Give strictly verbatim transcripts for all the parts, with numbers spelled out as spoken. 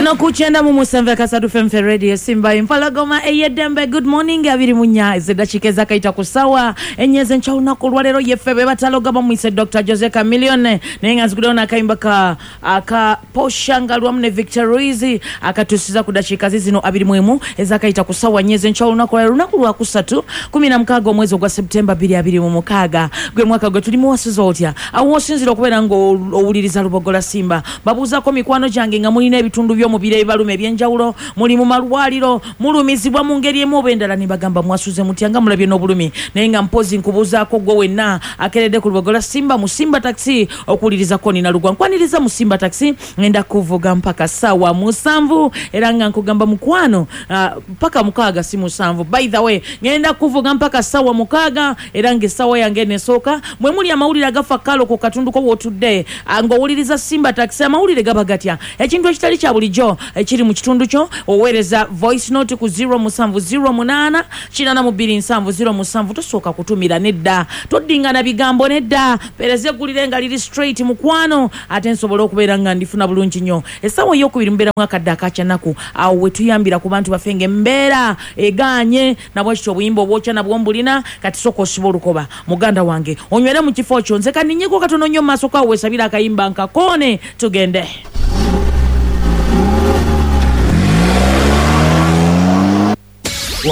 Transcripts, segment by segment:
Wano ku kyenda mu musanvu akasatu F M Radio Simba Empologoma ey'eddembe. Good morning. Abiri mu nnya ez'eddakiika ezakayita ku ssaawa ennya ez'enkya olunaku olwaleero. Yeffe be bataloga bamuyise Doctor Jose Chameleone, naye nga nziguddewo n'akayimba ka aka Posha Ngalwamu ne Victor Ruiz akatuusiza ku ddakiika zizino abiri mu emu ezakayita ku ssaawa nnya ez'enkya olunaku olwaleero, lunaku lwakusatu, kumi na mukaaga omwezi ogwa Septemba bbiri abiri mu mukaaga, gwe mwaka gwe tulimu. Wasuza otya awo wosinzira okubeera ng'owuliriza Lubogola Simba? Babuuzaako mikwano gyange nga mulina ebitundu by'omubiri ebibaluma ebyenjawulo, muli mu malwaliro, mulumizibwa mu ngeri emu oba endala, ne bagamba mwasuze mutya nga mulabye n'obulumi. Naye nga mpozi nkubuuzaako gwe wenna akeredde ku Lubogola Simba mu Simba Taxi okuwuliriza Nina Lugwa. Nkwaniriza mu Simba Taxi, ngenda kuvuga mpaka ssaawa musanvu, era nga nkugamba mukwano, ah, mpaka mukaaga, si musanvu by the way. Ngenda kuvuga mpaka ssaawa mukaaga, era ng'essaawa yange nesooka mwe muli amawulire agafa kalo ku katundu ko w'otudde, ah, ng'owuliriza Simba Taxi. Amawulire gaba gatya? Ekintu ekitali kya bulijjo ekiri mu kitundu kyo, oweereza voice note ku zero musanvu zero munaana kinaana mu bbiri nsanvu zero musanvu. Tosooka kutumira nedda, toddingana bigambo nedda, mpeereza eggulire nga liri straight mukwano, ate nsobole okubeera nga ndifuna bulungi nnyo. Essaawa eyokubiri mubeeramu akadde akakyanaku, awo we tuyambira ku bantu baffe ng'embeera egaanye. Nabwekityo obuyimba obwokya nabwo mbulina. Kati sooka osiba olukoba, muganda wange, onywere mu kifo kyo. Nze kaninyeko katono nnyo mu maaso kawo, weesabire akayimba nkakoone tugende.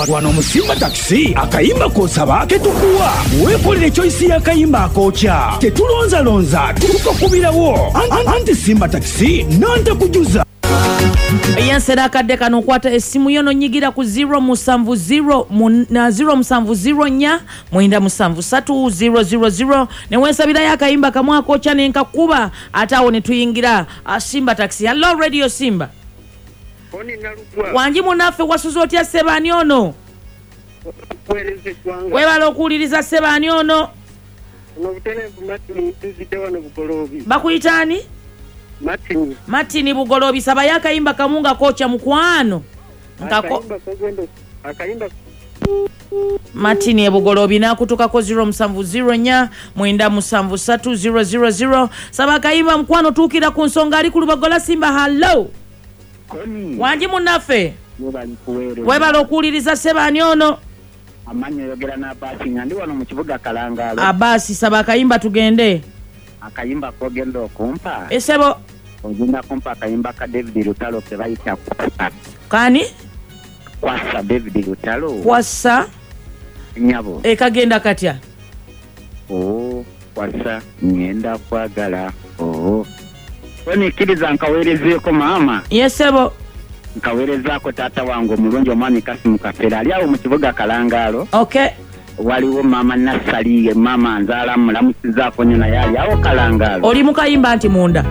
Wano mu Simba Takisi akayimba k'osaba ketukuwa. Weekolere choice y'akayimba akookya, tetulonzalonza, tukakubirawo. Anti Simba Takisi nantakujuza. Yensera akadde kano, okwata essimu yo nonyigira ku zero musanvu zero zero musanvu zero nnya mwenda musanvu ssatu zero zero zero ne weesabirayo akayimba kamu akookya nenkakuba, ate awo ne tuyingira ah, Simba Taxi. Hello, Radio Simba. Oni Nalugwa. Wangi munaffe, wasuze otya sebaani ono? Kuweereza eggwanga. Webala okuwuliriza. Sebaani ono? Ono butereevu Martin, nzidde wano Bugoloobi. Bakuyitaani? Martin. Martin Bugoloobi, sabayo akayimba kamu nga kookya mukwano. Nkako Akayimba kogenda akayimba. Martin ebugoloobi n'akutukako. zero musanvu zero nnya mwenda musanvu ssatu zero zero zero, saba akayimba mukwano, tuukira ku nsonga. Ali ku Lubagola Simba, hallo. Koni. Wangi munnaffe. Webali kuweereza. Webala okuwuliriza. Sebaani ono? Amannya oyogera n'Abaasi, nga ndi wano mu kibuga Kalangaalo. Abaasi, saba akayimba tugende. Akayimba kogenda okumpa, esebo. Ogenda kumpa akayimba ka David Lutalo ke bayita Kwasa. Kani? Kwasa, David Lutalo. Kwasa. Nyabo. Ekagenda katya? Oo, kwasa ngenda kwagala oo. Konikkiriza nkaweerezeeko maama. Yesebo. Nkaweerezaako taata wange omulungi, omwami Kasimu Kafeera, ali awo mu kibuga Kalangaalo. Okay waliwo maama Nassali, maama nzaala, mulamusizaako nnyo, naye ali awo Kalangaalo. Oli mu kayimba nti munda.